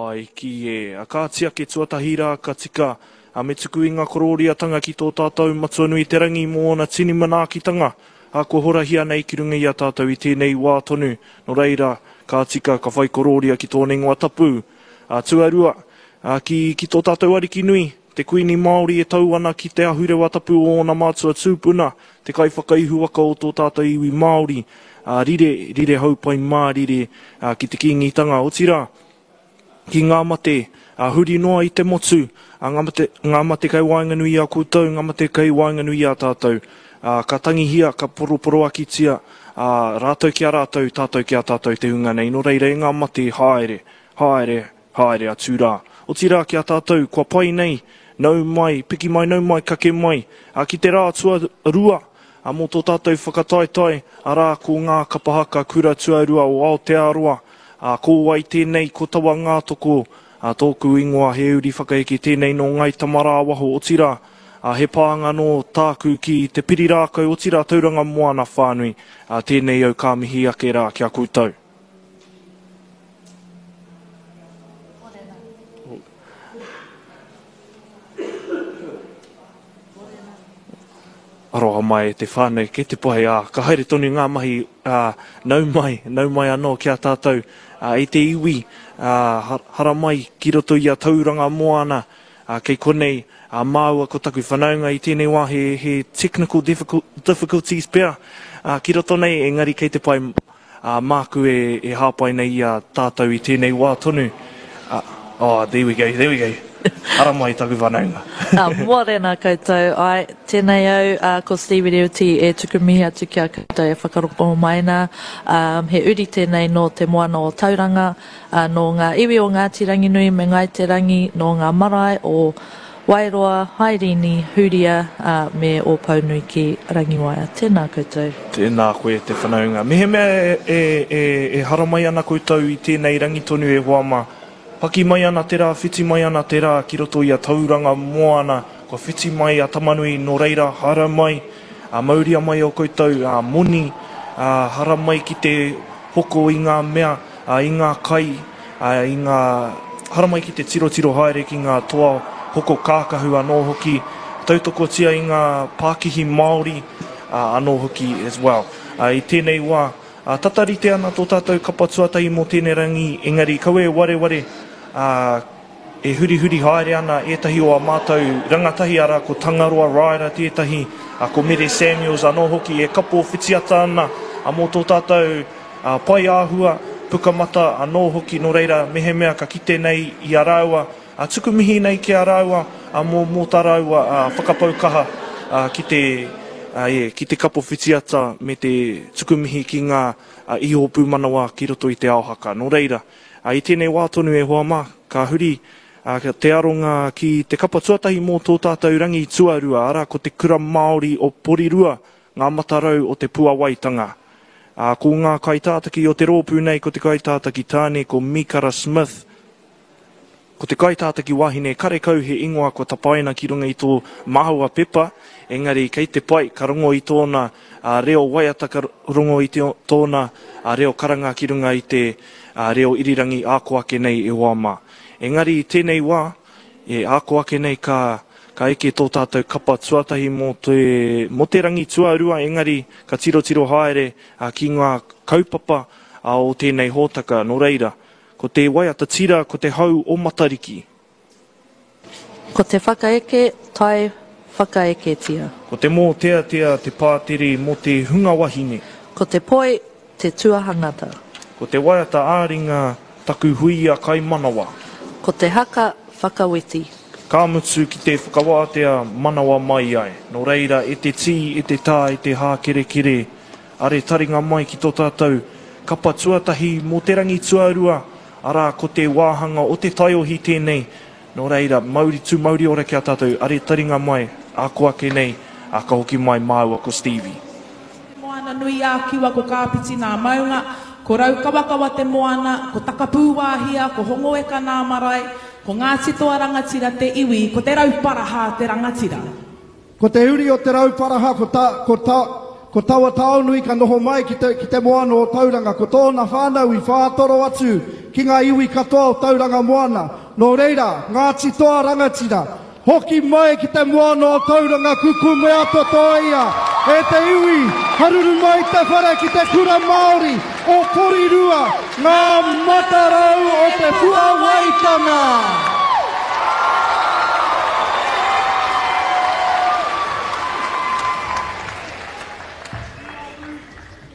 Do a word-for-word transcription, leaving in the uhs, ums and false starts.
Hawaiki e. A kāti ake tuatahi rā ka tika, a me tuku i ngā korōriatanga ki tō tātou Matua nui te rangi mō ōna tini manaakitanga, a kua horahia nei ki runga i a tātou i tēnei wā tonu, nō reira, ka tika ka whai korōria ki tōna ingoa tapu. A tuarua, a ki, ki tō tātou Ariki nui, te Kuini Māori e tau ana ki te ahurewa tapu o ōna mātua tūpuna, te kaiwhakaihuwaka o tō tātou iwi Māori, a rire, rire haupai mārire a, ki te Kīngitanga, otirā, ki ngā mate, a, huri noa i te motu, a, ngā mate, ngā mate kei waenganui i a koutou, ngā mate kei waenganui i a tātou. A, ka tangihia, ka poroporoakitia, a, rātou ki a rātou, tātou ki a tātou te hunga nei. Nō reira e ngā mate, haere, haere, haere atu rā. Otirā ki a tātou, kua pai nei, nau mai, piki mai, nau mai, kake mai, a, ki te rā tuarua, a, mō tō tātou whakataetae, arā ko ngā kapa haka kura tuarua o Aotearoa, a, ko wai tēnei, ko Tawa Ngātoko, a, tōku ingoa he uri whakaeke tēnei nō Ngāi Tamarāwaho, otirā, a, he pānga nō tāku ki te Pirirākau, otirā Tauranga Moana whānui, a, tēnei au ka mihi ake rā ki a koutou. Aroha mai e te whānau, kei te pai, ā, ka haere tonu ngā mahi, ā, nau mai, nau mai anō ki a tātou, ā, e te iwi, ā, haramai ki roto i a Tauranga Moana, ā, kei konei, ā, māua ko taku whanaunga i tēnei wā he, he technical difficulties pea, ā, ki roto nei, engari kei te pai, ā, māku e, e hāpai nei i a tātou i tēnei wā tonu. Ā, oh, there we go, there we go. Ara mai taku whanaunga. Uh, mōrena koutou, ai, tēnei au, uh, ko Stevie Rewiti e tuku mihi atu ki a koutou e whakaroko mai nā. Um, he uri tēnei nō te moana o Tauranga, uh, nō ngā iwi o Ngāti Ranginui me Ngāi Te Rangi, nō ngā marae o Wairoa, Hairini, Huria, uh, me Ōpounui ki Rangiwaea. Tēnā koutou. Tēnā koe te whanaunga. Mehemea e, e, e, e haramai ana koutou i tēnei rangi tonu e hoa mā, paki mai ana te rā, whiti mai ana te rā ki roto i a Tauranga Moana, kua whiti mai a Tamanui nō reira, hara mai, a mauria mai o koutou, a moni, a hara mai ki te hoko i ngā mea, a, i ngā kai, a, i ngā, hara mai ki te tirotiro haere ki ngā toa hoko kākahu anō hoki, tautokotia i ngā pākihi Māori a, anō hoki as well. A, i tēnei wā, a, tata rite ana tō tātou kapa tuatahi mō tēnei rangi, engari kaua e wareware, a, e hurihuri haere ana ētahi o a mātou rangatahi, arā ko Tangaroa Ryder tētahi, a, ko Mere Samuels anō hoki e kapo whitiata ana, a, mō tō tātou a, pai āhua, pukamata anō hoki, nō reira mehemea ka kite nei i a rāua, a, tuku mihi nei ki a rāua, a, mō, mō tā rāua a, whakapau kaha a, ki te, a, e, ki te kapo whitiata me te tuku mihi ki ngā a, iho pūmanawa ki roto i te ao haka. Nō reira, a, i tēnei wā tonu e hoa mā, ka huri a, te aronga ki te kapa tuatahi mō tō tātou rangi tuarua, arā ko te Kura Māori o Porirua, ngā matarau o te puawaitanga. A, ko ngā kaitātaki o te rōpū nei, ko te kaitātaki tāne, ko Mikara Smith, ko te kaitātaki wahine, karekau he ingoa kua tapaina ki runga i tō māua pepa, engari kei te pai, ka rongo i tōna a, reo waiata, ka rongo i te, tōna a, reo karanga ki runga i te a, reo irirangi āko ake nei e hoa mā. Engari i tēnei wā, e āko ake nei ka, ka eke tō tātou kapa tuatahi mō te, mō te rangi tuarua, engari ka tirotiro haere a, ki ngā kaupapa a, o tēnei hōtaka. Nō reira, ko te waiata tira, ko te hau o Matariki. Ko te whakaeke, tai whakaeketia. Ko te mōteatea te pātere mō te hunga wahine. Ko te poi, te tuahangata. Ko te waiata āringa, taku huia kaimanawa. Ko te haka, whakaweti. Ka mutu ki te whakawātea manawa mai ai. Nō reira, e te tī, e te tā, e te hākerekere, are taringa mai ki tō tātou kapa tuatahi mō te rangi tuarua, arā ko te wāhanga o te taiohi tēnei. Nō reira, mauri tū mauri ora ki a tātou, are taringa mai, ako ake nei, a ka hoki mai māua ko Stevie. Te moana nui ā Kiwa ko Kāpiti nā maunga, ko Raukawakawa te moana, ko Takapūwāhia, ko Hongoeka nā marae, ko Ngāti Toa Rangatira te iwi, ko Te Rauparaha te rangatira. Ko te uri o Te Rauparaha, ko, ta, ko, ta, Ko taua Taonui ka noho mai ki te, ki te moana o Tauranga, ko tōna whānau i whātoro atu ki ngā iwi katoa o Tauranga Moana. Nō reira, Ngāti Toa Rangatira, hoki mai ki te moana o Tauranga kukumea totoia e te iwi, haruru mai te whare ki te kura Māori o Porirua, ngā matarau o te puawaitanga.